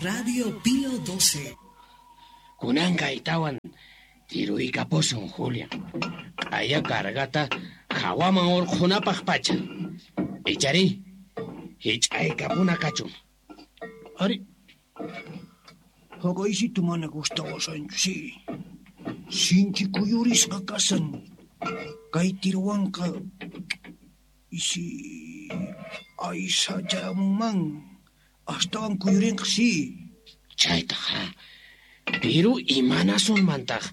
Radio Pío 12. Kunanqa itawan tiruykapusun, Julian. Q'aya cargata hawaman urqhunapaq pacha. Ichari, hich'aykapuna kachun. Ari. Haqaysitu mana gustawasanchu, si. Sinchi kuyurisqa kasan. Kay tiruwanqa isi aysachamunman. Astawan kuyurinqa, si. Chaytaq, ha. Piru imanasunmantaq.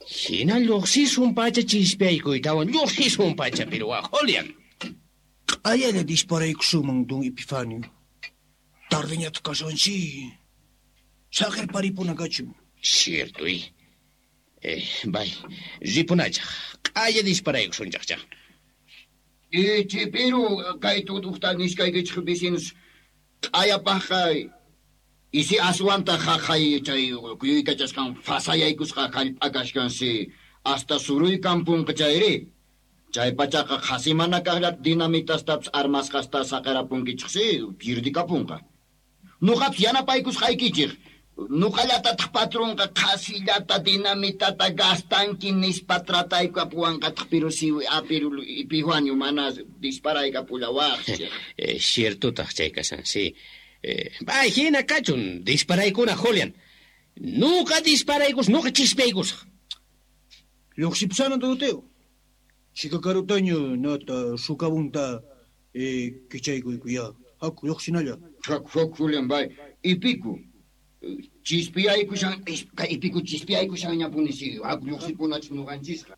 Hina lluqsisun pacha chispiaykuytawan, lluqsisun pacha piruwa, Julian. Q'ayalla disparaykusunman, don Epifanio. Tardeñataq kasan, si. Saqirparipuna kachun. Cierto, y. Bay, ripunachaq. Q'aya disparaykusunchaqcha. Ichi, piru kay tutuqta nishkaykichik vecinos q'ayapaqqa isi aswanta haqay chay kuyuykachasqan fasayaykusqa hallp'a kashkan si hasta suruykampunqa chayri. Chay pachaqa qhasi mana kaqllata dinamitas armasqasta saqirapunkichik si pirdikapunqa. Nuqapis yanapaykusqaykichik. Nuqallatataq patronqa qhasillata dinamitata gastanki nispa trataykapuwanqataq pero si apiru Epifanio mana disparaykapullawaqchik. Ciertotaq chay kasan, si. Bay, hina kachun, disparaykuna, Julian. Nuqa disparaykus, nuqa chispaykusaq. Lluqsipusana, Doroteo. Chika karutaña nata sukabunta kichaykuykuya. Haku, lluqsinalla. Haku, haku, Julian, bay. Ipiku. Chispiyaykushan, kay ipiku chispiyaykushanñapuni si. Haku lluqsipunachik nuqanchisqa.